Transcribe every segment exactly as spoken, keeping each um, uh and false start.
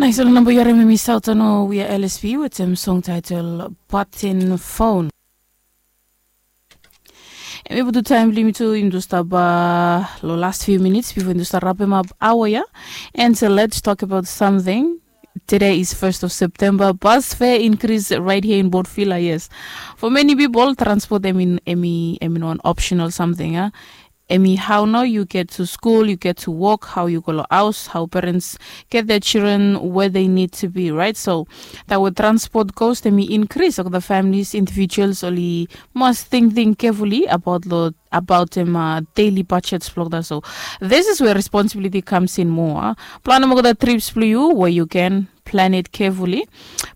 Nais ol namba yu harim em i sautano wia L S P wetem song title Button Phone. Em i putu taim bilong yumi tu yumi tu stap long last few minutes before yumi tu stap rapem ap awa ya. And so let's talk about something. Today is first of September. Bus fare increase right here in Port Vila, yes. For many people, transport em in em i em in one optional something, ah. Em i how now you get to school, you get to work, how you go lo house, how parents get their children where they need to be, right? So that with transport cost, em i increase of the families, individuals, oli must think think carefully about lo about em uh, daily budgets blok da. So this is where responsibility comes in more. Plan mo the trips blue you where you can plan it carefully.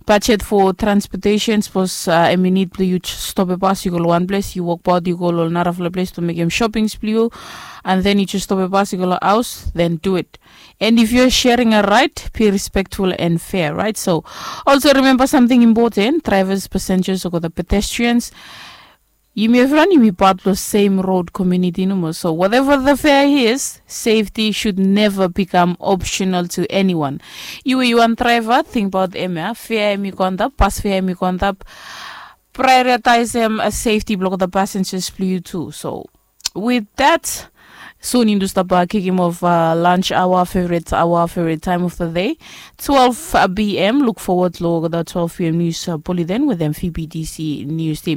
Budget for transportation, suppose uh, em you need blue you stop a bus, you go to one place, you walk about, you go to another place to make him shoppings blue you, and then you just stop a bus, you go to house, then do it. And if you're sharing a ride, be respectful and fair, right? So also remember something important: drivers, passengers, or the pedestrians. Yumi evriwan yumi part lo same road community nomo. So whatever the fare is, safety should never become optional to anyone. Yu yu wan driver, think about em ya. Fare em i go antap, bus fare em i go antap. Prioritize em a safety blok the passengers blue you too. So with that, soon you stop uh, kicking off uh, lunch hour, favorite hour, favorite time of the day. twelve p.m. Look forward lo the twelve p.m. news uh, bulletin with M V B D C news team.